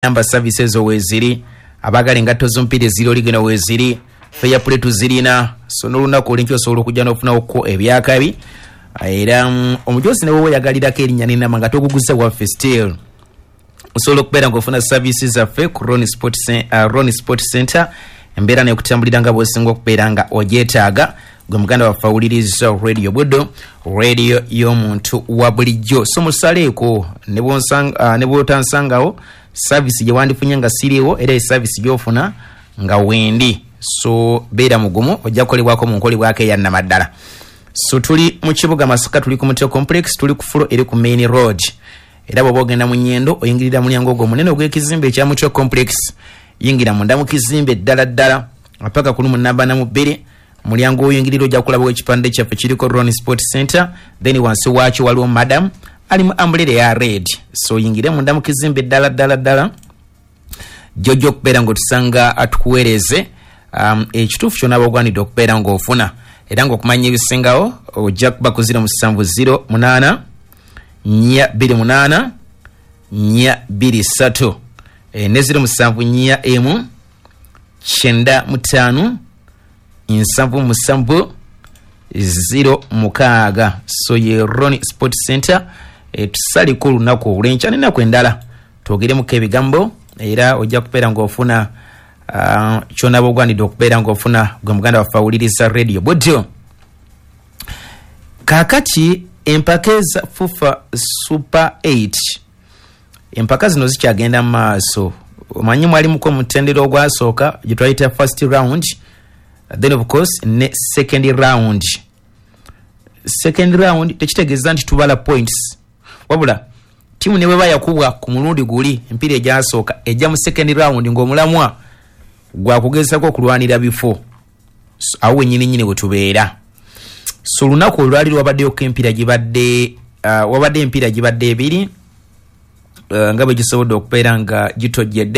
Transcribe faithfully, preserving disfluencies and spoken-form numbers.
Namba services ezo weeziri, abaagala engatto z'omupiira eziri oligeno weeziri, fair play tuzirina. So n'olunaku olwenkya osobola okujja n'ofunawoko ebyakabi. Era mm, omujozi ne wowe oyagalirako erinnya n'enamba nga toguguza waffe, still osobola okubeera ng'ofuna services zaffe ku Ron Sport, uh, Ron Sport Center. Embeera nekutambulira nga bw'osinga okubeera nga ogyetaaga, gwe muganda waffe awuliriza Radio Buddo, radio y'omuntu wa bulijjo. So musaleeko ne bw'otansangawo, service gye wandifunye nga siriiwo era eservice gy'ofuna nga wendi. So beera mugumu, ojja kukolebwako mu nkolebwako eyannamaddala. So tuli mu kibuga Masaka, tuli ku Mutio Complex, tuli ku floor eri ku main road. Era bw'oba ogenda mu Nyendo, oyingirira mulyango ogwo omunene ogw'ekizimbe ekya Mutio Complex. Yingira munda mu kizimbe ddala ddala paka ku lumu namba na mu bbiri. Mulyango oyingirira ojja kulabawo ekipande kyaffe kiriko Ron Sport Center, then wansi waakyo waliwo madam ali mu umbrella eya red. So oyingire munda mu kizimbe ddala ddala ddala, jojja okubeera ng'otusanga atukuweereze um, ekituufu kyonna bagwanidde okubeera ng'ofuna. Era ng'okumanya ebisingawo ojja kuba ku zero musanvu zero munaana nnya bbiri munaana nnya bbiri ssatu e, ne zero musanvu nnya emu kyenda mu ttaano nsanvu musanvu zero mukaaga. So ye Ron Sport Center. e, tusaliko olunaku olwenkya nenaku endala twogeremuko ebigambo, era ojja kubeera ng'ofuna uh, kyonaba ogwanidde okubeera ng'ofuna, gwe muganda waffe awuliriza Radio Budyo. Kaakati empaka eza FUFA Super eight, empaka zino zikyagenda mu maaso. Omanyi mwalimuko omutendera ogwasooka gye twayita first round, then of course ne second round. Second round tekitegeeza nti tubala points, wabula tiimu ne bweba yakubwa ku mulundi guli empiira egyasooka, ejja mu second round ng'omulamwa gwakugezako okulwanira bifo. So, awo wenyini nyini we tubeera. So olunaku olwali lwabaddeyoko empiira gibadde uh, wabadde empiira gibadde ebiri uh, nga bwe gisobodde okubeera nga gitojjedde.